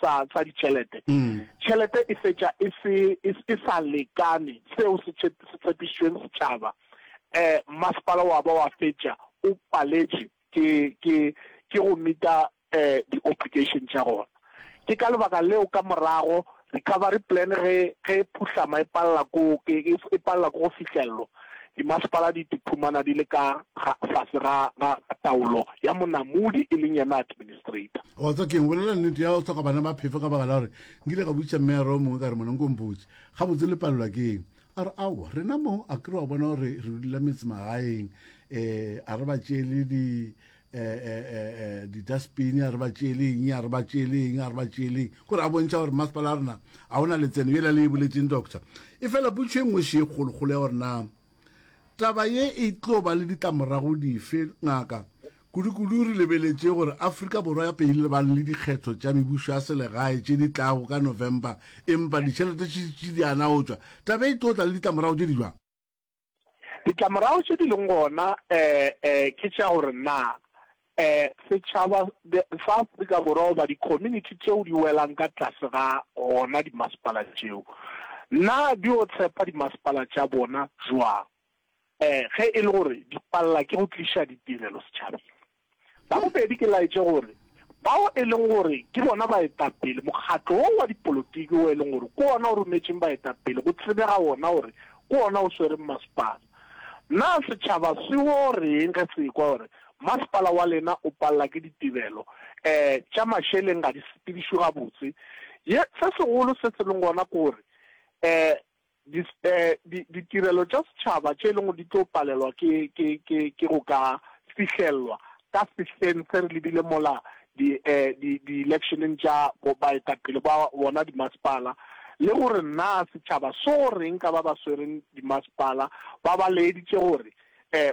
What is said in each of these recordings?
sa sa ditšhelete, tšhelete e fetša e se e e sa lekane seo se se tshepišitšweng setšhaba. Um masepala wa ba wa fetša o paletše ke ke ke go meeta um di-obligation tša gona. Ke ka lebaka leo ka morago recovery plan ge ge e phuhlama e palela ko ke e palela ko go fihlellwa, dimasepala di iphumana di le ka ga fase ga ga taolo ya monamodi e leng yena administrator. Wa tseba ke'ng, bolela nnete ya go hloka bana ba phefo ka baka la gore nkile ka botšiša meyara o mongwe ka re mona nko mpotše gabotse le palelwa ke eng? A re aowa rena mo a kere wa bona gore re dula metsemagaeng um a re ba tšeele di di-dustbin a re ba tšeeleng a re ba tšeeleng a re ba tšeeleng kore a bontšha gore masepala a rena a ona letseno yela le e boletseng doctor e fela potšo e nngwe še e kgolokgolo ya gore na taba ye e tlo ba le ditlamorago dife ngaka kudu-kudu re lebeletše gore Afrika Borwa ya pele lebane le dikgetho tša mebušo ya selegae tše di tlago ka November empa ditšhelete tše di ana go tšwa taba e tlo tla le ditlamorago tše di jwang? Ditlamorago tše di leng gona ke tša gore na setšhaba sa Afrika Borwa goba di-community tšeo di welang ka tlase ga gona dimasepala tšeo, na di yo tshepa dimasepala tša bona jwang ge e le gore di palela ke go tliša ditirelo setšhabeng? La bobedi, ke laetše gore bao e leng gore ke bona baetapele, mokgatlo wo wa dipolotiki wo e leng gore ke wona o rometšeng baetapele, go tsebega wona gore ke wona o swereng masepala. Na setšhaba se wo reng ge se ekwa gore masepala wa lena o palela ke ditebelo um tša mašeleng ga di sepedišwe gabotse? Ye, se segolo se se leng gona ke gore um Di, di, ditirelo tša setšhaba tše e leng gore di tlo palelwa ke, ke, ke, ke go ka fihlellwa ka sehleng se re lebile mola di, di, di-electioneng tša bo, baetapele ba bona dimasepala, le gore na setšhaba so reng ka ba ba swereng dimasepala, ba ba laeditše gore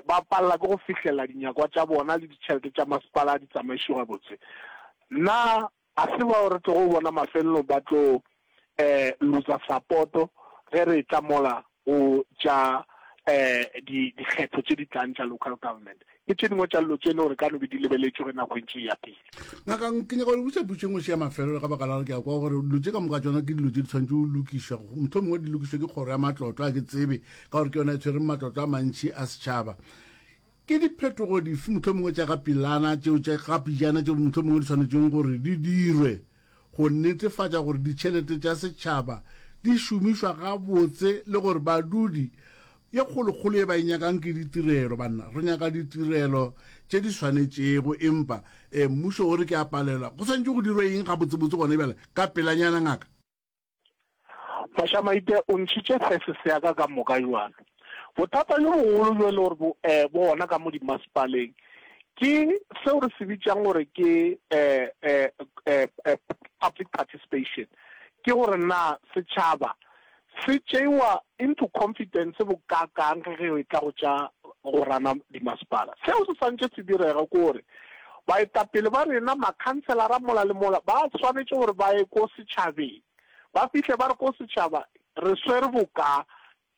ba palela ke go fihlelela dinyakwa tša bona le ditšhelete tša masepala di tsamaišwe gabotse. Na Ga se bao re tlogo bona mafelelong ba tlo loser sapoto ge re etla mola go tša dikgetho tše di tlang tša local government. Ke tše dingwe tša dilo tše e le gore ka no be di lebeletšwe ge nako e ntše e ya pele. Ngaka, ke nyaka go le botša potšo e nngwe še ya mafelelo ka baka la gore ke a kwa gore dilo tše ka moka tšona ke dilo tše di tshwanetše go lokišwa. Mohlomongwe di lokišwe ke kgoro ya matlotlo, a ke tsebe, ka gore ke yona e tshwereng matlotlo a mantši a setšhaba. Ke diphetogo dife mohlomongwe tša ka pelana tšeo tša ka pejana tšeo mohlomongwe di swanetšeng gore di dirwe go netefatša gore ditšhelete tša setšhaba di šomišwa gabotse le gore badudi ye kgolokgolo ye ba e nyakang ke ditirelo? Banna, re nyaka ditirelo tše di swanetšego, empa eh, mmušo o re ke a palelwa. Go swanetše go dirwe eng gabotsebotse gona bjale ka pelanyana, ngaka? Mašamaite o ntšhitše thesis ya ka ka moka bjalo. Bothata bjo bogolo bjo e le gore bo bo gona ka mo dimasepaleng ke seo re se bitšang gore ke public participation, ke gore na setšhaba se tšeiwa into confidence bokaakang ge ge e tla go tša go rana dimasepala. Seo se swantše se direge ke gore baetapele ba rena, makhanselara mola le mola ba swanetše gore ba ye ko setšhabeng, ba fihle ba re ko setšhaba re swere bokaa,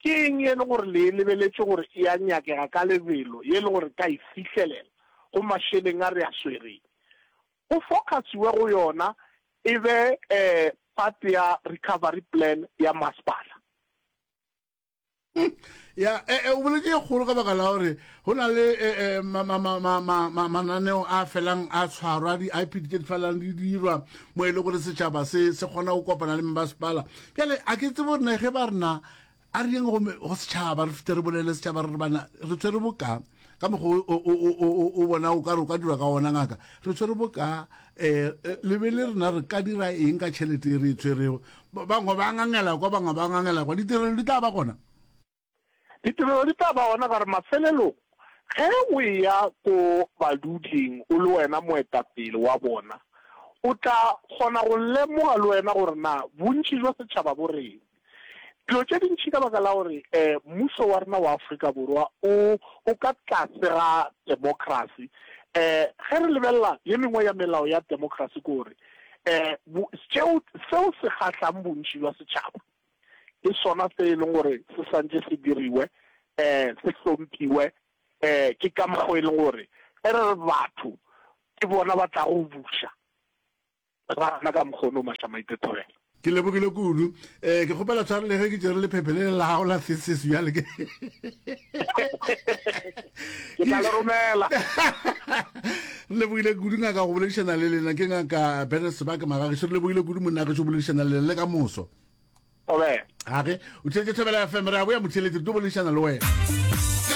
ke eng ye e le gore le e lebeletše gore e a nyakega ka lebelo, ye e le gore re ka e fihlelela go mašeleng a re a swereng. Go focus-iwe go yona e be part ya recovery plan ya masepala. Ya, e, e, o boletše e kgolo ka baka la gore go na le e, e, ma, ma, ma, ma, ma, ma, mananeo a felang a tshwarwa, di-IPD tše di felang di dirwa mo e le gore setšhaba se se kgona go kopana le mmasepala. Bjale a ke tsebe gore na ge ba rena A re yeng go, go setšhaba, re fete re bolele setšhaba, re re bana, re tshwere boka, ka mokgwa o, o, o, o, o, o bona o ka re o ka dirwa ka ona, ngaka. Re tshwere boka, eh, le be le rena re ka dira eng ka tšhelete e re e tshwerego. Bangwe ba ngangela kwa, bangwe ba ngangela kwa. Ditirelo di tla ba gona. Ditirelo di tla ba gona ka gore mafelelong ge o eya ko baduding o le wena moetapele wa bona, o tla kgona go lemoga le wena gore na bontši jwa setšhaba bo reng. Dilo tše dintši ka baka la gore mmušo wa rena wa Afrika Borwa o o ka tlase ga democracy. Ge re lebelela ye mengwe ya melao ya democracy ke gore tšeo seo se kgahlang bontši bja setšhaba ke sona se e leng gore se santše se diriwe, se hlomphiwe. Ke ka mokgo e leng gore ge re re batho ke bona ba tlago buša. Gana ka mokgono Mašamaite Thobela. Ke lebogile kudu. Eh, ke kgopela tshwaro le ge ke tšere lephephe le la gago la thesis bjale ke. Ke tla le romela. Re lebogile kudu ngaka go boledišana le lena ke ngaka Bernard Sebake Magagešu re lebogile kudu monna gešo go boledišana le lena le ka moso. Thobela. Age, o theetše Thobela FM re a boya motheeletši re tlo boledišana le wena.